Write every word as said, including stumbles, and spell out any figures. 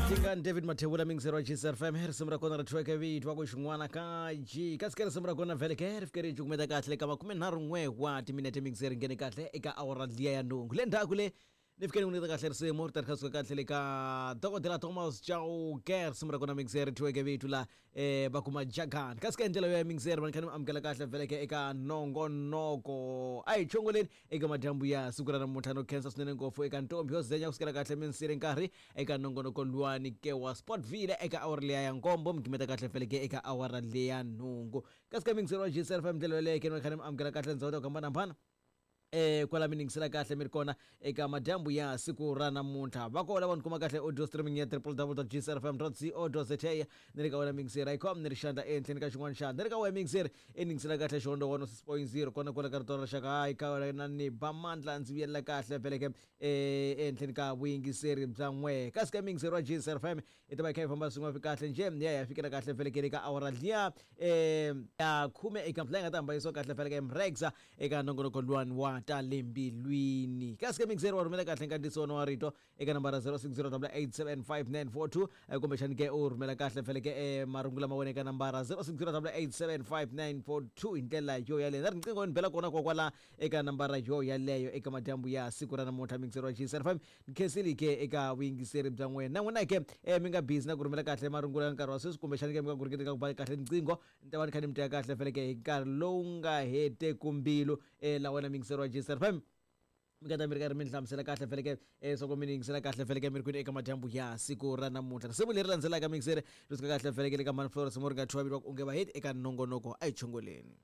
Tingani David Mathebula mingiseri wa G S F M risimu ra kona ri thyiweke vito wa ku xin'wana ka G kasi ke risimu ra kona vhele ke ri fike ri cukumeta kahle ka makume nharhu n'we wa timinete mingiseri nghene kahle eka awara liya ya nhungu le ndzhaku le ni fike ni n'wi nyiketa kahle risimu ri ta ri kha suka kahle le ka dokodela Thomas Chauke risimu ra kona mingiseri thyiweke vito la eh va kuma Jagan kasi ke ndlela yo ya mingiseri va ni kha ni amukela kahle vhele ke eka nongonoko a hi chongoleni eka madyambu ya siku ra namuntlha no khensa swinene ngopfu eka ntombi yo zenya kusukela kahle minsiri nkarhi eka nongonoko luwani ke wa Sportville eka awara liya ya nkombo mi gimeta kahle vhele ke eka awara liya nhungu kasi ka mingiseri wa G S F M ndlela yoleyo ke ni kha ni amukela kahle ndzhawu ta ku hambanahambana eh kwala mi ningisela kahle mi ri kona eka madyambu ya siku ra namuntlha va kona va ni kuma kahle audio streaming ya w w w dot g s r f m dot co dot z a ni ri ka wena mingiseri icom ni ri xandla ehenhleni ka xin'wana xandla ni ri ka wena mingiseri i ningisela kahle xihondo one six point zero kona kwala ka rito ra rixaka hayi ka wena ni ba mandla ndzi vuyelela kahle veleke eh ehenhleni ka vuyingiseri bya n'we kasi ka mingiseri wa G S R F M i ta va yi kha yi famba swin'wana kahle njhe ya ya fikela kahle veleke eka awara liya eh ya khume eka mpfula yi nga ta hambanisiwa kahle veleke mrexa eka nongonoko luwani wa ta le mbilwini kasi ke mingiseri wa rhumela kahle nkandziyiso wa rito eka nambara zero six zero eight seven five nine four two kumbexani ke u rhumela kahle feleke e marungula ma wena eka nambara zero six zero eight seven five nine four two hi ndlela yo yaleyo na riqingho ni bela kona kokwala eka nambara yo yaleyo eka madyambu ya siku ra namuntlha mingiseri wa G S F M ni khensile ke eka vuyingiseri bya n'wina na n'wina ke mi nga busy na ku rhumela kahle marungula ya nkarhi wa sweswi kumbexani ke mi nga guriketi ka ku ba kahle riqingho ni ta va ni kha ni mi teka kahle feleke hi nkarhi lowu nga heteku mbilu la wena mingiseri wa G S F M mi nga ta mi ri karhi mi ni hlamusela kahle feleke eh soko mi ni yingisela kahle feleke mi ri kwini eka madyambu ya siku ra namuntlha risimu leri landzelaka mingiseri ri suka kahle feleke le ka Manflora risimu ri nga thyiwa vito wa ku onge va heti eka nongonoko a hi chongoleni.